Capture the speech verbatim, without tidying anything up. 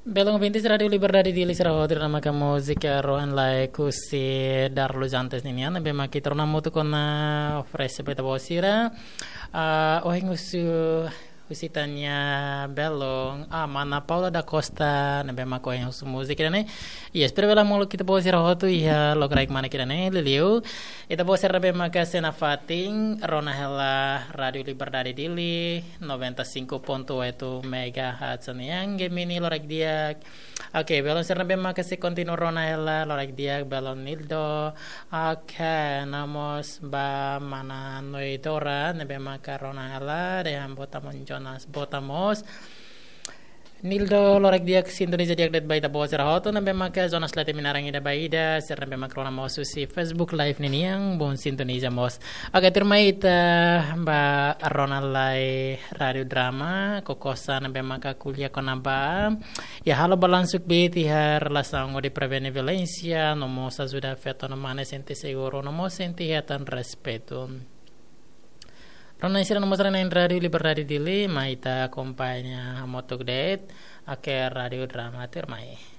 Belun ouvintes Rádiu Liberdade Dili, sira hotu, ida-ne'e maka múzika Rohan Lai husi Darlus Antes ninian, ne'ebé maka ita rona hamutuk ona, oferese ba ita-boot sira. Ah, ohin husu husi Tanya Belun, ah, mana Paula da Costa, ne'ebé maka ohin husu múzika ida-ne'e. Yes, espera bele molok ita-boot sira hotu iha lokraik manek ida-ne'e, liuliu ita-boot sira ne'ebé maka sei nafatin rona hela Rádiu Liberdade Dili, noventa e cinco ponto oito megahertz nian, Gemini, loraik di'ak. Oke, belun sira ne'ebé maka sei kontinua rona hela, loraik di'ak, belun Nildo. Oke, no mós ba mana Noidora, ne'ebé maka rona hela, dehan boot aman Jonas, boot aman mós. Nildo, loraik di'ak, sintoniza di'ak de'it ba ita-boot sira hotu, ne'ebé maka zona Leti Minarang ida ba ida, sira ne'ebé maka rona mós husi Facebook Live ninian, bom sintoniza mós. Oke, tuirmai ita ba rona lai Rádiu Drama, Kokosa ne'ebé maka ko'alia kona-ba iha halo balansu kbiit iha relasaun hodi prevene violénsia, no mós ajuda feto no mane sente seguru, no mós sente hetan respeitu. Rona sira no mós rona iha Rádiu Liberdade Dili, mai ita akompaña hamutuk de'it, oke, Rádiu Drama, tuirmai.